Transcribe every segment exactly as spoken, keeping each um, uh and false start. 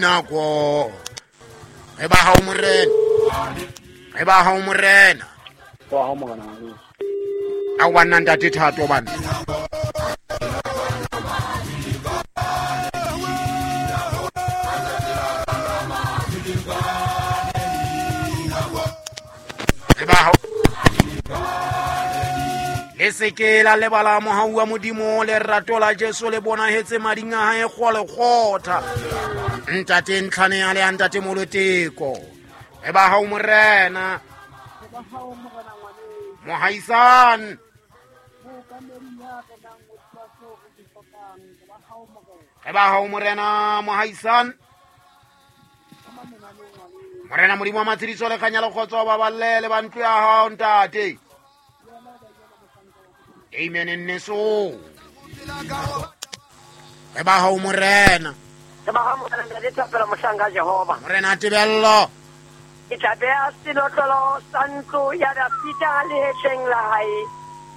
Nako e ba hao morena, e ba hao morena. Wa hao morena wa. A wa nna ntate Thato bana. E ba hao. Le se ke la lebala mohau wa Modimo, lerato la Jesu le bonahetse mading a hae kgole kgotha. Ntate Ntlhane a le a ntate Moloteko. E ba hao morena. Mohaisane. E ba hao morena mohaisane. Morena Modimo wa matshediso le kganya le kgotso ba balle le ba ntlo ya hao ntate. Amen nneso. E ba hao morena. E ba hao morena ntate Thapelo mohlanka Jehova. Morena Tebello. Ke tla beha senotlolo sa ntlo ya Dafida lehetleng la hae.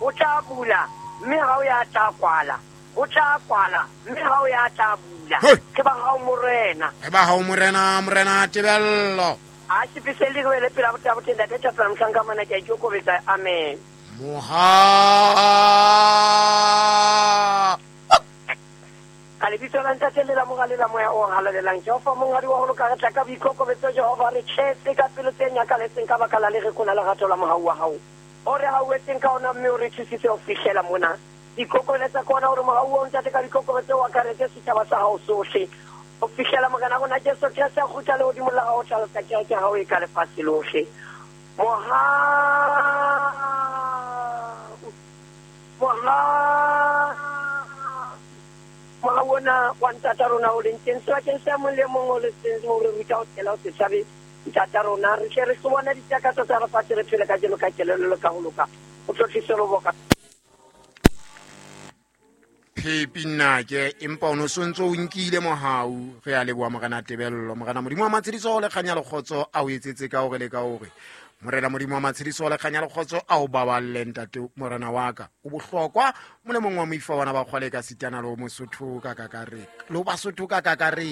O tla bula mme ha o ya tla kwala. O tla kwala mme ha o ya tla bula. Ke ba hao morena. E ba hao morena, morena Tebello. A se le re le pela botabo ntate Thapelo mohlanka mona ke a ikokobetsa. Amen. Moha. Ka lebitso la Ntate le la Mora le la Moya o Halalelang, Jehova monghadi wa ho loka, re tla ka boikokobetso Jehova, re tletse ka pelo tse nyakaletseng ka baka la lereko la lerato la mohau wa hao o re hauetseng ka ona, mme o re thusitse ho fihlela mona. Ikokobeletsa ka ona hore mohau wa Ntate ka boikokobetso o akaretse setjhaba sa hao sohle ho fihlela Morena rona Jesu Kreste a kgutla lehodimong la hao, o hlalosa kereke ya hao e ka lefatshe lohle. Mohau, mohau, mohau ona wa ntata rona o leng teng sebakeng sa mong le mong o le teng o re ruta ho tshela ho se tshabe ntata rona, re tle re hlobone ditakatso tsa lefatshe, re phele kajeno ka kelello le ka ho loka. O tlotlise loboka. Phepi nnake, empa o no sontso o nkile mohau. Re a leboha morena Tebello. Morena Modimo wa matshediso le kganya le kgotso a o etsetse ka hore le ka hore. Morena Modimo wa matshediso le kganya le kgotso a o baballe ntate morena wa ka. O bohlokwa molemong wa moifa wana ba kgwale ka sitana le o Mosotho ka kakaretso. Le o Basotho ka kakaretso.